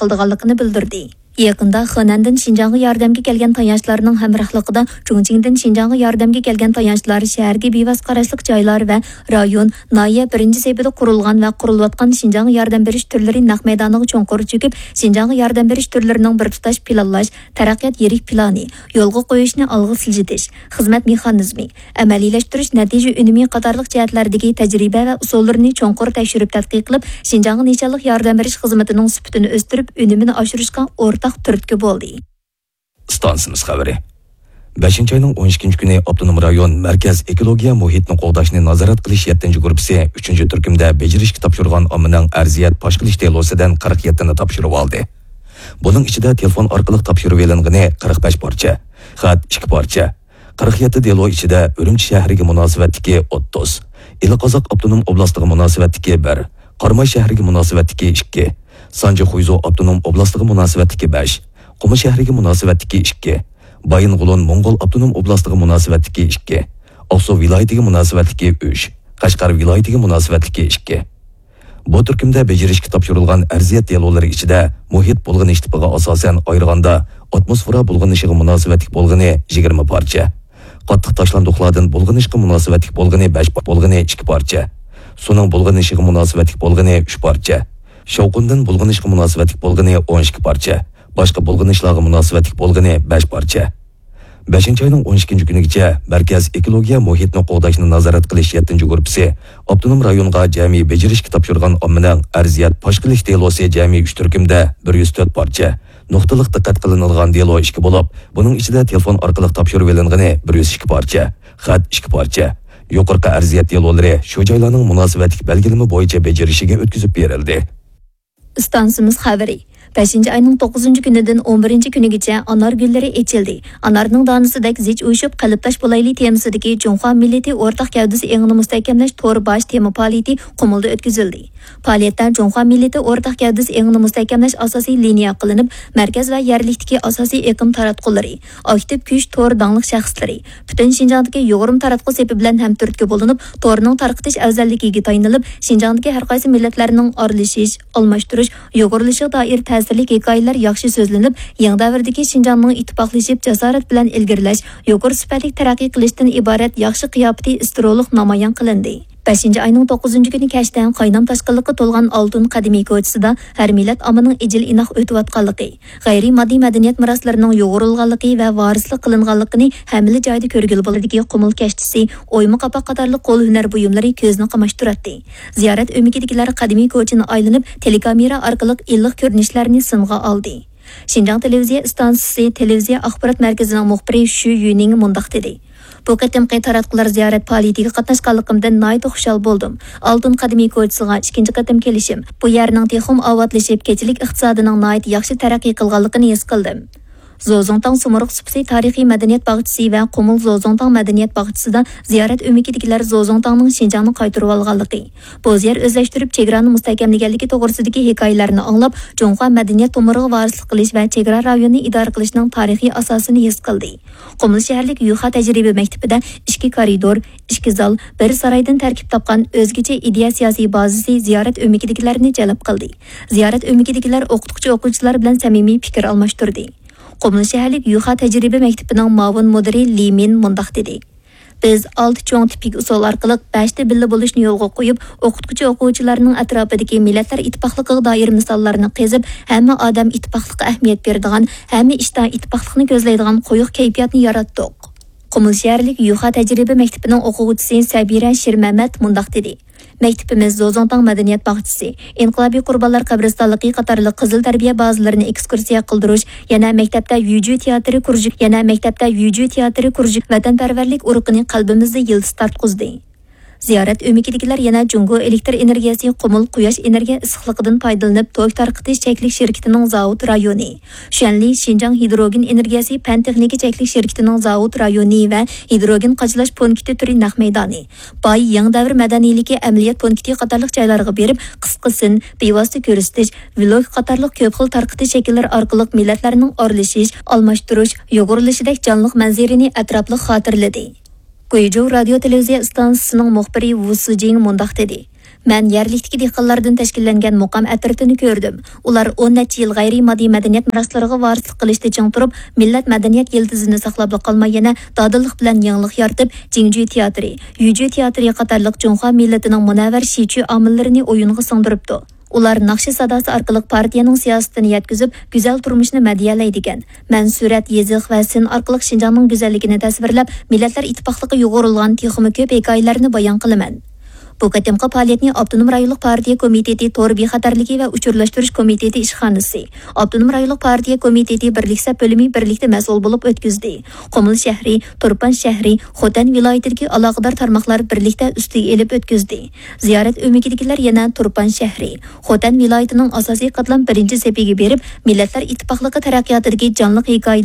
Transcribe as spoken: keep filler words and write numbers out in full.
قىلىدىغانلىقىنى بىلدۈردى. يېقىندا خېنەندىن شىنجاڭغا ياردەمگە كەلگەن تايانچلارنىڭ ھەمراھلىقىدا چۇڭچىڭدىن شىنجاڭغا ياردەمگە كەلگەن تايانچلار شەھەرگە بىۋاسىتە قاراشلىق جايلار ۋە رايون، ناھىيە بىرىنچى سېپىدا قۇرۇلغان ۋە قۇرۇلۇۋاتقان شىنجاڭغا ياردەم بېرىش تۈرلىرى نەق مەيدانىغا چوڭقۇر چۆكۈپ، شىنجاڭغا ياردەم بېرىش تۈرلىرىنىڭ بىر تۇتاش پىلانلاش، تەرەققىيات يىرىك پىلانى يولغا قويۇشنى ئالغا سىلجىتىش، خىزمەت مېخانىزمى، ئەمەلىيلەشتۈرۈش نەتىجە ئۈنۈمى قاتارلىق جەھەتلەردىكى تەجرىبە ۋە ئۇسۇللىرىنى چوڭقۇر تەكشۈرۈپ تەتقىق قىلىپ، شىنجاڭغا نىشانلىق ياردەم بېرىش خىزمىتىنىڭ سۈپىتىنى ئۆستۈرۈپ، ئۈنۈمىنى ئاشۇرۇشقا ئورتاق تۈرتكە بولدى. ئىستانسىمىز خەۋىرى. بەشىنچى ئاينىڭ ئون ئىككىنچى كۈنى ئاپتونوم رايون مەركەز ئېكولوگىيە مۇھىتنى قوغداشنى نازارەت قىلىش يەتتىنچى گۇرۇپپىسى ئۈچىنچى تۈركۈمدە بېجىرىشكە تاپشۇرغان ئاممىنىڭ ئەرزىيەت پاش قىلىش دېلوسىدىن قىرىق يەتتىنى تاپشۇرۇۋالدى. بۇنىڭ ئىچىدە تېلېفون ئارقىلىق تاپشۇرۇۋېلىنغىنى قىرىق بەش پارچە، خەت ئىككى پارچە، قىرىق يەتتە دېلو ئىچىدە ئۈرۈمچى شەھىرىگە مۇناسىۋەتلىكى ئوتتۇز، ئىلى قازاق ئاپتونوم ئوبلاستىغا مۇناسىۋەتلىكى بىر، قاراماي شەھىرىگە مۇناسىۋەتلىكى ئىككى، سانجى خۇيزۇ ئاپتونوم ئوبلاستىغا مۇناسىۋەتلىكى بەش، قۇمۇل شەھىرىگە مۇناسىۋەتلىكى ئىككى، بايىنغولىن موڭغۇل ئاپتونوم ئوبلاستىغا مۇناسىۋەتلىكى ئىككى، ئاقسۇ ۋىلايىتىگە مۇناسىۋەتلىكى ئۈچ، قەشقەر ۋىلايىتىگە مۇناسىۋەتلىكى ئىككى. بۇ تۈركۈمدە بېجىرىشكە تاپشۇرۇلغان ئەرزىيەت دېلولىرى ئىچىدە مۇھىت بۇلغىنىش تىپىغا ئاساسەن ئايرىغاندا، ئاتموسفېرا بۇلغىنىشىغا مۇناسىۋەتلىك بولغىنى يىگىرمە پارچە، قاتتىق تاشلاندۇقلاردىن بۇلغىنىشقا مۇناسىۋەتلىك بولغىنى بەش پا-، بولغىنى ئىككى پارچە، سۇنىڭ بۇلغىنىشىغا مۇناسىۋەتلىك بولغىنى ئۈچ پارچە، شاۋقۇندىن بۇلغىنىشقا مۇناسىۋەتلىك بولغىنى ئون ئىككى پارچە، باشقا بۇلغىنىشلارغا مۇناسىۋەتلىك بولغىنى بەش پارچە. بەشىنچى ئاينىڭ ئون ئىككىنچى كۈنىگىچە مەركەز ئېكولوگىيە مۇھىتنى قوغداشنى نازارەت قىلىش يەتتىنچى گۇرۇپپىسى ئاپتونوم رايونغا جەمئىي بېجىرىشكە تاپشۇرغان ئاممىنىڭ ئەرزىيەت پاش قىلىش دېلوسى جەمئىي ئۈچ تۈركۈمدە بىر يۈز تۆت پارچە، نۇقتىلىق دىققەت قىلىنىدىغان دېلو ئىككى بولۇپ، بۇنىڭ ئىچىدە تېلېفون ئارقىلىق تاپشۇرۇۋېلىنغىنى بىر يۈز ئىككى پارچە، خەت ئىككى پارچە. يۇقىرىقى ئەرزىيەت دېلولىرى شۇ جايلارنىڭ مۇناسىۋەتلىك بەلگىلىمە بويىچە بېجىرىشىگە ئۆتكۈزۈپ بېرىلدى. ئىستانسىمىز خەۋىرى. بەشىنچى ئاينىڭ توققۇزىنچى كۈنىدىن ئون بىرىنچى كۈنىگىچە ئانار گۈللىرى ئېچىلدى. ئانارنىڭ دانىسىدەك زىچ ئۇيۇشۇپ، قەلبداش بولايلى تېمىسىدىكى جۇڭخۇا مىللىتى ئورتاق گەۋدىسى ئېڭىنى مۇستەھكەملەش تور باش تېما پائالىيىتى قۇمۇلدا ئۆتكۈزۈلدى. پائالىيەتتە جۇڭخۇا مىللىتى ئورتاق گەۋدىسى ئېڭىنى مۇستەھكەملەش ئاساسىي لىنىيە قىلىنىپ، مەركەز ۋە يەرلىكتىكى ئاساسىي ئېقىم تاراتقۇلىرى، ئاكتىپ كۈچ تور داڭلىق شەخسلىرى، پۈتۈن شىنجاڭدىكى يۇغۇرما تاراتقۇ سېپى بىلەن ھەمتۈرتكە بولۇنۇپ، تورنىڭ تارقىتىش ئەۋزەللىكىگە تايىنىلىپ، شىنجاڭدىكى ھەرقايسى مىللەتلەرنىڭ ئارىلىشىش، ئالماشتۇرۇش، يۇغۇرۇلۇشىغا دائىر تەسىرلىك ھېكايىلەر ياخشى سۆزلىنىپ، يېڭى دەۋردىكى شىنجاڭنىڭ ئىتتىپاقلىشىپ، جاسارەت بىلەن ئىلگىرىلەش، يۇقىرى سۈپەتلىك تەرەققىي قىلىشتىن ئىبارەت ياخشى قىياپىتى ئىستېرېئولۇق نامايان قىلىندى. بەشىنچى ئاينىڭ توققۇزىنچى كۈنى كەچتە قاينام تاشقىنلىققا تولغان ئالتۇن قەدىمىي كوچىسىدا ھەر مىللەت ئاممىنىڭ ئىجىل-ئىناق ئۆتۈۋاتقانلىقى، غەيرىي ماددىي مەدەنىيەت مىراسلىرىنىڭ يۇغۇرۇلغانلىقى ۋە ۋارىسلىق قىلىنغانلىقىنى ھەممىلا جايدا كۆرگىلى بولىدىكى قۇمۇل كەشتىسى، ئويما قاپاق قاتارلىق قول ھۈنەر بۇيۇملىرى كۆزنى قاماشتۇراتتى. زىيارەت ئۆمىكىدىكىلەر قەدىمىي كوچىنى ئايلىنىپ، تېلېكامېرا ئارقىلىق ئىللىق كۆرۈنۈشلەرنى سىنغا ئالدى. شىنجاڭ تېلېۋىزىيە ئىستانسىسى تېلېۋىزىيە ئاخبارات مەركىزىنىڭ مۇخبىرى شۈ يۈنىڭ مۇنداق دېدى: بۇ قېتىمقى تاراتقۇلار زىيارەت پائالىيىتىگە قاتناشقانلىقىمدىن ناھايىتى خۇشال بولدۇم. ئالتۇن قەدىمىي كوچىسىغا ئىككىنچى قېتىم كېلىشىم، بۇ يەرنىڭ تېخىمۇ ئاۋاتلىشىپ، كېچىلىك ئىقتىسادىنىڭ ناھايىتى ياخشى تەرەققىي قىلغانلىقىنى ھېس قىلدىم. زوزۇڭتاڭ سۇمۇرغ سۇپىسى تارىخىي مەدەنىيەت باغچىسى ۋە قۇمۇل زوزۇڭتاڭ مەدەنىيەت باغچىسىدا زىيارەت ئۆمىكىدىكىلەر زوزۇڭتاڭنىڭ شىنجاڭنى قايتۇرۇۋالغانلىقى، بوزيەر ئۆزلەشتۈرۈپ چېگرانى مۇستەھكەملىگەنلىكى توغرىسىدىكى ھېكايىلەرنى ئاڭلاپ، جۇڭخۇا مەدەنىيەت تومۇرىغا ۋارىسلىق قىلىش ۋە چېگرا رايونىنى ئىدارە قىلىشنىڭ تارىخىي ئاساسىنى ھېس قىلدى. قۇمۇل شەھەرلىك يۈخا تەجرىبە مەكتىپىدە ئىككى كارىدور، ئىككى زال، بىر سارايدىن تەركىب تاپقان ئۆزگىچە ئىدىيە سىياسىي بازىسى زىيارەت ئۆمىكىدىكىلەرنى جەلپ قىلدى. زىيارەت ئۆمىكىدىكىلەر ئوقۇتقۇچى-ئوقۇغۇچىلار بىلەن سەمىمىي پىكىر ئالماشتۇردى. قۇمۇل شەھەرلىك يۈخا تەجرىبە مەكتىپىنىڭ مۇئاۋىن مۇدىرى لى مىن مۇنداق دېدى: بىز ئالتە چوڭ تىپىك ئۇسۇل ئارقىلىق بەشتە بىللە بولۇشنى يولغا قويۇپ، ئوقۇتقۇچى-ئوقۇغۇچىلارنىڭ ئەتراپىدىكى مىللەتلەر ئىتتىپاقلىقىغا دائىر مىساللارنى قېزىپ، ھەممە ئادەم ئىتتىپاقلىققا ئەھمىيەت بېرىدىغان، ھەممە ئىشتا ئىتتىپاقلىقنى كۆزلەيدىغان قويۇق كەيپىياتنى ياراتتۇق. قۇمۇل شەھەرلىك يۈخا تەجرىبە مەكتىپىنىڭ ئوقۇغۇچىسى سەبىرە شىرمەمەت مۇنداق دېدى: مەكتىپىمىز زوزۇڭتاڭ مەدەنىيەت باغچىسى، ئىنقىلابىي قۇربانلار قەبرىستانلىقى قاتارلىق قىزىل تەربىيە بازىلىرىنى ئېكسكۇرسىيە قىلدۇرۇش، يەنە مەكتەپتە يۈجۈ تىياتىرى كۇرژۇك، يەنە مەكتەپتە يۈجۈ تىياتىرى كۇرژۇك ۋەتەنپەرۋەرلىك ئۇرۇقىنى قەلبىمىزدە يىلتىز تارتقۇزدى. زىيارەت ئۆمىكىدىكىلەر يەنە جۇڭگو ئېلېكتر ئېنېرگىيەسى قۇمۇل قۇياش ئېنېرگىيە ئىسسىقلىقىدىن پايدىلىنىپ، توك تارقىتىش چەكلىك شىركىتىنىڭ زاۋۇت رايونى، شۈەنلى شىنجاڭ ھىدروگېن ئېنېرگىيەسى پەن تېخنىكا چەكلىك شىركىتىنىڭ زاۋۇت رايونى ۋە ھىدروگېن قاچىلاش پونكىتى تۈرى نەق مەيدانى، باي يېڭى دەۋر مەدەنىيلىكى ئەمەلىيەت پونكىتى قاتارلىق جايلارغا بېرىپ، قىسقا سىن، بىۋاسىتە كۆرسىتىش، ۋلوگ قاتارلىق كۆپ خىل تارقىتىش شەكىللىرى ئارقىلىق مىللەتلەرنىڭ ئارىلىشىش، ئالماشتۇرۇش، يۇغۇرۇلۇشىدەك جانلىق مەنزىرىنى ئەتراپلىق خاتىرىلىدى. گۇيجۇ رادىيو تېلېۋىزىيە ئىستانسىسىنىڭ مۇخبىرى ۋۇ سىجىڭ مۇنداق دېدى: مەن يەرلىكتىكى دېھقانلاردىن تەشكىللەنگەن مۇقام ئەترىتىنى كۆردۈم. ئۇلار ئون نەچچە يىل غەيرىي ماددىي مەدەنىيەت مىراسلىرىغا ۋارىسلىق قىلىشتا چىڭ تۇرۇپ، مىللەت مەدەنىيەت يىلتىزىنى ساقلاپلا قالماي، يەنە دادىللىق بىلەن يېڭىلىق يارىتىپ، جىڭجۈ تىياتىرى، يۈجۈ تىياتىرى قاتارلىق جۇڭخۇا مىللىتىنىڭ مۇنەۋۋەر شىچۈ ئامىللىرىنى ئويۇنغا سىڭدۈرۈپتۇ. ئۇلار ناخشا ساداسى ئارقىلىق پارتىيەنىڭ سىياسىتىنى يەتكۈزۈپ، گۈزەل تۇرمۇشنى مەدھىيەلەيدىكەن. مەن سۈرەت، يېزىق ۋە سىن ئارقىلىق شىنجاڭنىڭ گۈزەللىكىنى تەسۋىرلەپ، مىللەتلەر ئىتتىپاقلىقى يۇغۇرۇلغان تېخىمۇ كۆپ ھېكايىلەرنى بايان قىلىمەن. بۇ قېتىمقى پائالىيەتنى ئاپتونوم رايونلۇق پارتىيە كومىتېتى تور بىخەتەرلىكى ۋە ئۇچۇرلاشتۇرۇش كومىتېتى ئىشخانىسى، ئاپتونوم رايونلۇق پارتىيە كومىتېتى بىرلىك سەپ بۆلۈمى بىرلىكتە مەسئۇل بولۇپ ئۆتكۈزدى. قۇمۇل شەھىرى، تۇرپان شەھىرى، خوتەن ۋىلايىتىدىكى ئالاقىدار تارماقلار بىرلىكتە ئۈستىگە ئېلىپ ئۆتكۈزدى. زىيارەت ئۆمىكىدىكىلەر يەنە تۇرپان شەھىرى، خوتەن ۋىلايىتىنىڭ ئاساسىي قاتلام بىرىنچى سېپىگە بېرىپ، مىللەتلەر ئىتتىپاقلىقى تەرەققىياتىدىكى جانلىق ھېكايىلەر